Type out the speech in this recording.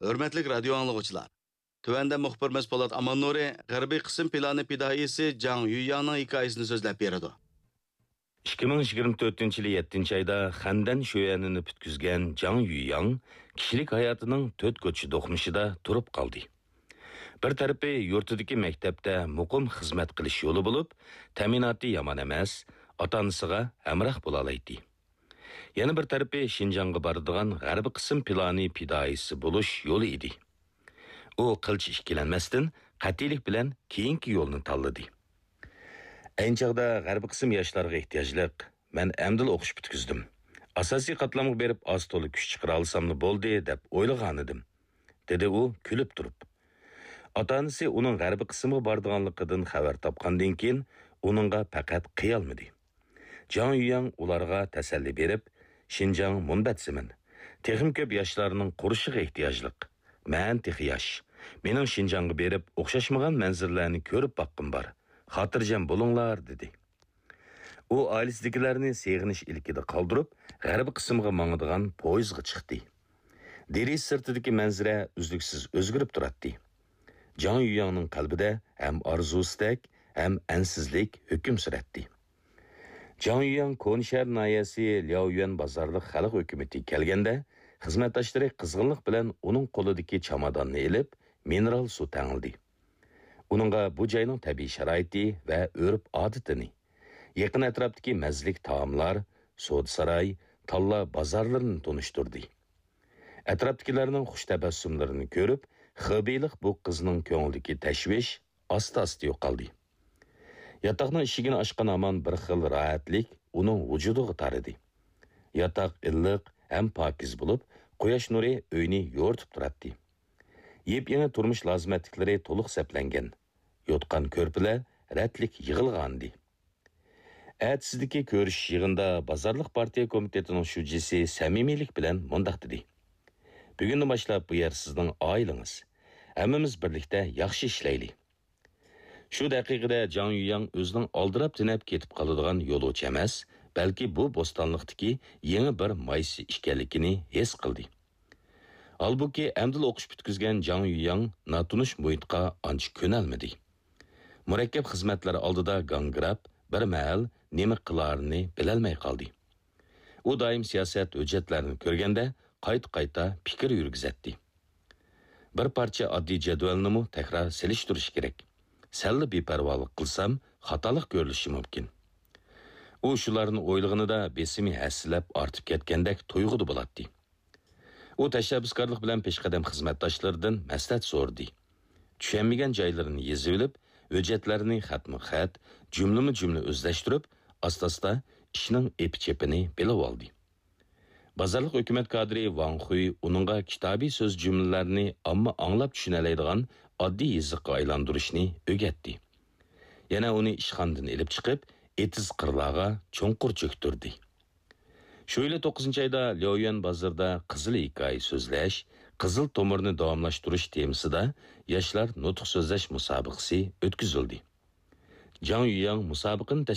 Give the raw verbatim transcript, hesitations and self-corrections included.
ھۆرمەتلىك رادىيو ئاڭلىغۇچىلار! تۆۋەندە مۇخبىرىمىز پولات ئاماننۇرى غەربىي قىسىم پىلانى پىدائىيسى جاڭ يۈيياڭنىڭ ھېكايىسىنى سۆزلەپ بېرىدۇ. ئىككى مىڭ يىگىرمە تۆتىنچى يىلى يەتتىنچى ئايدا خەندەن شۆيەنىنى پۈتكۈزگەن جاڭ يۈيياڭ كىشىلىك ھاياتىنىڭ تۆت كوچا دوقمۇشىدا تۇرۇپ قالدى. بىر تەرىپى يۇرتىدىكى مەكتەپتە مۇقىم خىزمەت قىلىش يولى بولۇپ، تەمىناتى يامان ئەمەس، ئاتا-ئانىسىغا ھەمراھ بولالايتتى. يەنە بىر تەرىپى شىنجاڭغا بارىدىغان غەربىي قىسىم پىلانى پىدائىيسى بولۇش يولى ئىدى. ئۇ قىلچە ئىككىلەنمەستىن، قەتئىيلىك بىلەن كېيىنكى يولنى تاللىدى. ئەينى چاغدا غەربىي قىسىم ياشلارغا ئېھتىياجلىق، مەن ئەمدىلا ئوقۇش پۈتكۈزدۈم. ئاساسىي قاتلامغا بېرىپ ئاز-تولا كۈچ چىقىرالىساملا بولدى، دەپ ئويلىغانىدىم، دېدى ئۇ كۈلۈپ تۇرۇپ. ئاتا-ئانىسى ئۇنىڭ غەربىي قىسىمغا بارىدىغانلىقىدىن خەۋەر تاپقاندىن كېيىن، ئۇنىڭغا پەقەت قىيالمىدى. جاڭ يۈيياڭ ئۇلارغا تەسەللى بېرىپ، شىنجاڭ مۇنبەت زېمىن، تېخىمۇ كۆپ ياشلارنىڭ قۇرۇشىغا ئېھتىياجلىق. مەن تېخى ياش. مېنىڭ شىنجاڭغا بېرىپ ئوخشاشمىغان مەنزىرىلەرنى كۆرۈپ باققۇم بار. خاتىرجەم بولۇڭلار، دېدى. ئۇ ئائىلىسىدىكىلەرنى سېغىنىش ئىلكىدە قالدۇرۇپ، غەربىي قىسىمغا ماڭىدىغان پويىزغا چىقتى. دېرىزە سىرتىدىكى مەنزىرە ئۈزلۈكسىز ئۆزگىرىپ تۇراتتى. جاڭ يۈيياڭنىڭ قەلبىدە ھەم ئارزۇسىدەك، ھەم ئەنسىزلىك ھۆكۈم سۈرەتتى. جاڭ يۈيياڭ كونا شەھەر ناھىيەسى لياۋيۈەن بازارلىق خەلق ھۆكۈمىتىگە كەلگەندە، خىزمەتداشلىرى قىزغىنلىق بىلەن ئۇنىڭ قولىدىكى چاماداننى ئېلىپ، مىنېرال سۇ تەڭلىدى. ئۇنىڭغا بۇ جاينىڭ تەبىئىي شارائىتى ۋە ئۆرپ-ئادىتىنى، يېقىن ئەتراپتىكى مەززىلىك تائاملار، سودا ساراي، تاللا بازارلىرىنى تونۇشتۇردى. ئەتراپتىكىلەرنىڭ خۇش تەبەسسۇملىرىنى كۆرۈپ، خېبېيلىق بۇ قىزنىڭ كۆڭلىدىكى تەشۋىش ئاستا-ئاستا يوقالدى. ياتاقنىڭ ئىشىكىنى ئاچقان ھامان بىر خىل راھەتلىك ئۇنىڭ ۋۇجۇدىغا تارىدى. ياتاق ئىللىق ھەم پاكىز بولۇپ، قۇياش نۇرى ئۆينى يورۇتۇپ تۇراتتى. يېپيېڭى تۇرمۇش لازىمەتلىكلىرى تولۇق سەپلەنگەن. يوتقان كۆرپىلەر رەتلىك يىغىلغانىدى. ئەتىسىدىكى كۆرۈشۈش يىغىنىدا بازارلىق پارتىيە كومىتېتىنىڭ شۇجىسى سەمىمىيلىك بىلەن مۇنداق دېدى: «بۈگۈندىن باشلاپ بۇ يەر سىزنىڭ ئائىلىڭىز. ھەممىمىز بىرلىكتە ياخشى ئىشلەيلى.» شۇ دەقىقىدە جاڭ يۈيياڭ ئۆزىنىڭ ئالدىراپ تېنەپ كېتىپ قالىدىغان يولۇچى ئەمەس، بەلكى بۇ بوستانلىقتىكى يېڭى بىر مايسا ئىكەنلىكىنى ھېس قىلدى. ھالبۇكى، ئەمدىلا ئوقۇش پۈتكۈزگەن جاڭ يۈيياڭ ناتونۇش مۇھىتقا ئانچە كۆنەلمىدى. مۇرەككەپ خىزمەتلەر ئالدىدا گاڭگىراپ، بىر مەھەل نېمە قىلارىنى بىلەلمەي قالدى. ئۇ دائىم سىياسەت ھۆججەتلەرنى كۆرگەندە، قايتا-قايتا پىكىر يۈرگۈزەتتى. بىر پارچە ئاددىي جەدۋەلنىمۇ تەكرار سېلىشتۇرۇش كېرەك. سەللا بىپەرۋالىق قىلسام، خاتالىق كۆرۈلۈشى مۇمكىن. ئۇ شۇلارنى ئويلىغىنىدا بېسىمى ھەسسىلەپ ئارتىپ كەتكەندەك تۇيغۇدا بولاتتى. ئۇ تەشەببۇسكارلىق بىلەن پېشقەدەم خىزمەتداشلىرىدىن مەسلىھەت سورىدى. چۈشەنمىگەن جايلىرىنى يېزىۋېلىپ، ھۆججەتلەرنى خەتمۇ خەت، جۈملىمۇ جۈملە ئۆزلەشتۈرۈپ، ئاستا-ئاستا ئىشنىڭ ئېپى-چېپىنى بىلىۋالدى. بازارلىق ھۆكۈمەت كادىرى ۋاڭ خۇي ئۇنىڭغا كىتابىي سۆز جۈملىلەرنى ئامما ئاڭلاپ چۈشىنەلەيدىغان ئاددىي يېزىققا ئايلاندۇرۇشنى ئۆگەتتى. يەنە ئۇنى ئىشخانىدىن ئېلىپ چىقىپ، ئېتىز قىرلارغا چوڭقۇر چۆكتۈردى. شۇ يىلى توققۇزىنچى ئايدا لياۋيۈەن بازىرىدا قىزىل ھېكايە سۆزلەش، قىزىل تومۇرنى داۋاملاشتۇرۇش تېمىسىدا ياشلار نۇتۇق سۆزلەش مۇسابىقىسى ئۆتكۈزۈلدى. جاڭ يۈيياڭ مۇسابىقىنى